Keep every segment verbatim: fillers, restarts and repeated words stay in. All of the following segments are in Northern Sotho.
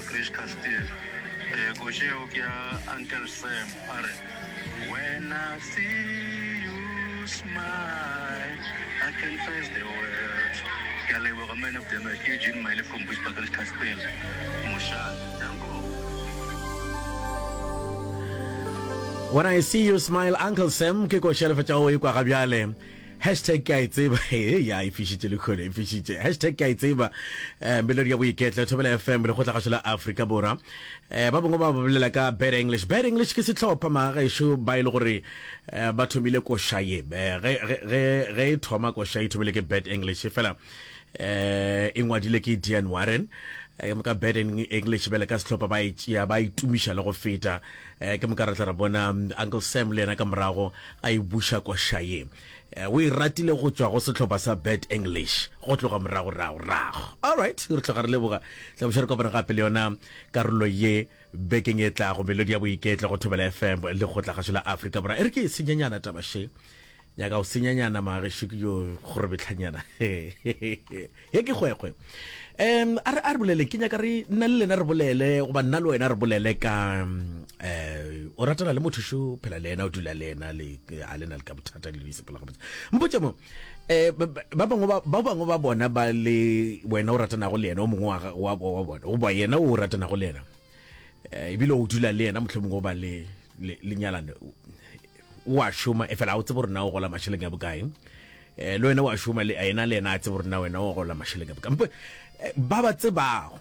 Bushbuckridge Castle. Eh koše eo ke ya Uncle Sam a re When I see you smile I can face the world. Ke a leboga man of the match ke Eugene Maile from Bushbuckridge Castle. Mošate. Danko. When I see you smile Uncle Sam ke koša le fetša go e kwa ga bjale. Hashtag ke a e tseba ya e fišitše le khone e fišitše. Hashtag ke a e tseba eh, melodi ya boiketlo Thobela F M lekgotlagašo la Afrika Borwa. eh, ba bangwe ba bolela ka Bad English. Bad English ke sehlopha magagešo ba e le gore eh, ba thomile koša ye. eh, ge, ge, ge, ge e thoma koša e thomile ke Bad English fela eh, e ngwadile ke Diane Warren. eh, ke moka Bad English bjale ka sehlopha ba e tšea ba e tumiša le go feta. eh, ke moka re tla re bona mm, Uncle Sam le yena ka morago a e buša koša ye. eh, o e ratile go tšwa go sehlopha sa Bad English go tloga morago rago rago. Alright, re tloga re leboga tla boša re kopana gape le yona karolo ye bekeng e tlago melodi ya boiketlo go Thobela F M le kgotlagašo la Afrika Borwa. E re ke e senyanyana taba še nyaka go senyanyana magešo ke yo kgorebetlhanyana ye ke kgwekgwe. um a re a re bolele, ke nyaka re nna le lena re bolele goba nna le wena re bolele ka um o ratana le motho šo phela le yena, o dula le yena, le a lena le ka bothata le sepela gabotse. Mpotse mo um ba bangwe ba ba bangwe ba bona ba le wena o ratanago le yena, o mongwe wa wa wa bona goba yena o ratanago le yena, eh, ebile o dula le yena, mohlomongwe o ba le le nyalane, o a šoma e fela a o tsebe gore na o gola mašeleng a bokae. um le wena o a šoma le yena, le yena a tsebe gore na wena o gola mašeleng a bokae. Mpo ba ba tsebago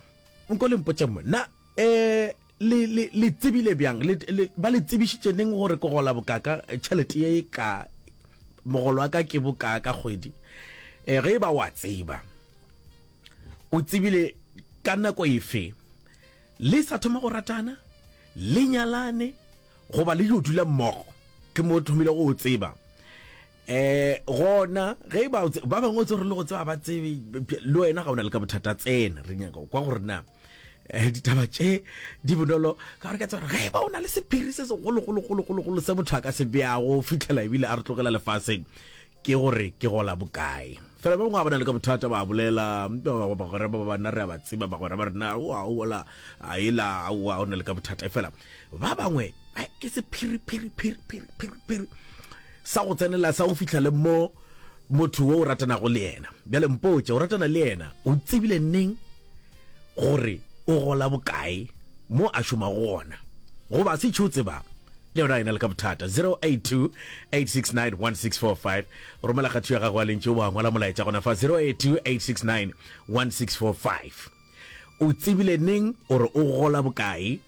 nko le mpotša mo na um le le le tsebile bjang, le, le ba le tsebišitše neng gore ke gola bokaka, tšhelete ye ka mogolo wa ka ke bokaa ka kgwedi? um ge e ba wa tseba, o tsebile ka nako efe? Le sa thoma go ratana, le nyalane goba le yo dula mmogo ke mo thomile go tseba? um gona ge ba ba bangwe o tse gore le go tseba ba tsebe le wena ga o na le ka bothata, tsena re nyaka kwa gore na um ditaba tše di bonolo ka gore ka tseba gore ge ba o na le sephiri se segologologologologolo se motho a ka se beago fitlhela ebile a re tlogela lefaseng ke gore ke gola bokae. Fela ba bangwe ga ba na le ka bothata ba bolela bagwera ba banna re a ba tseba, bagwera ba rena oa ola a ela aowa o na le ka bothata. Fela ba bangwe ke sephiri phiri phiri phiri phiri phiri sa go tsenela sa go fihla le mo motho wo o ratanago le yena. Bjale mpotše, o ratana le yena, o tsebile neng gore o gola bokae mo a šomago gona, goba se tšho tseba le yona ena le ka bothata? zero eight two, eight six nine, one six four five, romela kgatho ya gago a lentše wa ngwala molaetša gona fa zero eight two, eight six nine, one six four five. O tsebile neng gore o gola bokae?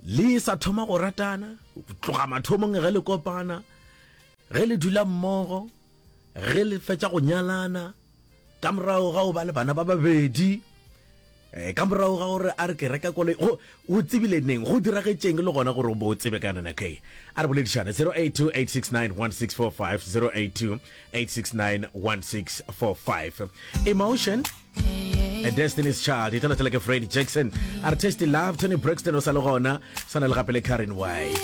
Le sa thoma go ratana, tloga mathomong ge le kopana, ge le dula mmogo, ge le fetša go nyalana, ka morago ga o ba le bana ba babedi, eh, ka morago ga gore a re ke reka koloi, go o tsebile neng? Go diragetšeng le gona gore o bo o tsebe ka yona nako e? A re boledišane zero eight two, eight six nine, one six four five, zero eight two, eight six nine, one six four five. Emotion, A Destiny's Child e tla ke Freddie Jackson a re Tasty Love, Toni Braxton o sa le gona, sana le gape le Karen White.